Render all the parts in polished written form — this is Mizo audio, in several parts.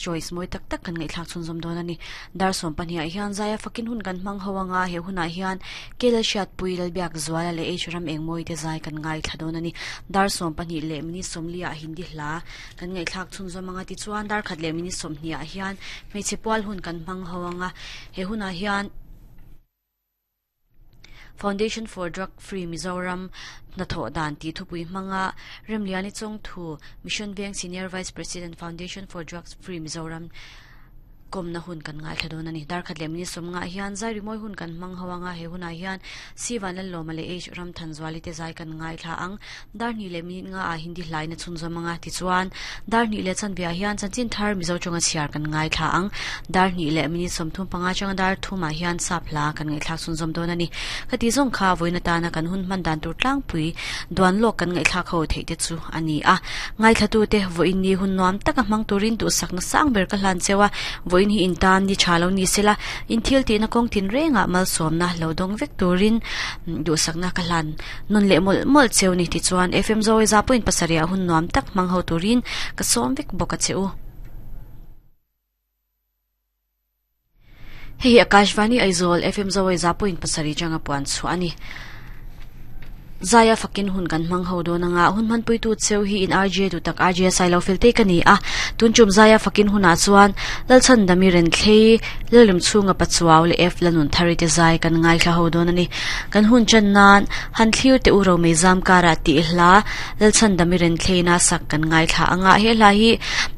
Choice mawi tak tak kan ngaihthlak chhunzawm dawn a ni. Dar 12 ah hian Zaia fakin hun kan hmang ho anga he hunah hian Kel Hriatpui Lalbiak Zuala leh H Ram Engmawi te zai kan ngaithla dawn a ni. Dar 12 leh minute 40 ah Hindi hla kan ngaihthlak chhunzawm anga tichuan dar khat leh minute 20 ah hian hmeichhe pual hun kan hmang ho anga he hunah hian Foundation for Drug Free Mizoram hnathawh dan tih thupui hmanga Remliani Chawngthu, Mission Veng Senior Vice President, Foundation for Drugs Free Mizoram kawmna hun kan ngaithla dawn a ni. Darkhat leh minute 50 hian zai rimawi hun kan hmang ho anga he hunah hian C Vanlallawma leh H Ramthanzuali te zai kan ngaithla ang. Dar hnih leh minute nga ah Hindi hlain a chhunzawm anga tichuan dar hnih leh chanve ah hian chanchin thar Mizo tawnga chhiar kan ngaithla ang. Dar hnih leh minute 35 atanga dar thum ah hian sap hla kan ngaihthlak chhunzawm dawn a ni. Ka tih zawng kha vawiin atana kan hun hman dan tur tlangpui duan lawk kan ngaihthlak ho theih te chu a ni a. Ngaithlatute vawiin ni hun nuam taka hmang turin duhsakna sang ber ka hlan cheu a, vawiin hi intan ni tha lo ni sela in thil tihna kawng tin rengah malsawmna lo dawng vek turin duhsakna ka hlan. Nun leh mawlh mawlh cheu ni tichuan FM Zoe za point pasarih ah hun nuam tak hmang ho turin ka sawm vek bawk a che u. Hei hi Akashvani Aizawl FM Zoe za point pasarih changa puan chhuah a ni. Zaia fakin hun kan hmang ho dawn anga hun hmanpuitu cheu hi in RJ duh tak RJ Sailo fel te ka ni a. Tun tum Zaia fakin hunah chuan Lalchhandami Renthlei Lalrim chhunga Pachuau leh F Lalnunthari te zai kan ngaithla ho dawn a ni. Kan hun chan nan han thlir teh u Romei zam karah tih hla Lalchhandami Renthleina sak kan ngaithla anga he hla hi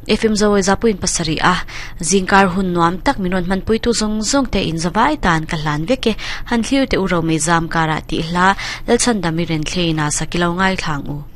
FM Zoe Zapuiin pasarih a zingkar hun nuam tak min rawn hmanpuitu zawng zawng te in zavai tan ka hlan vek e. Han thlir teh u Romei zam karah tih hla Lalchhandami Renthleina sak i lo ngaithla ang u.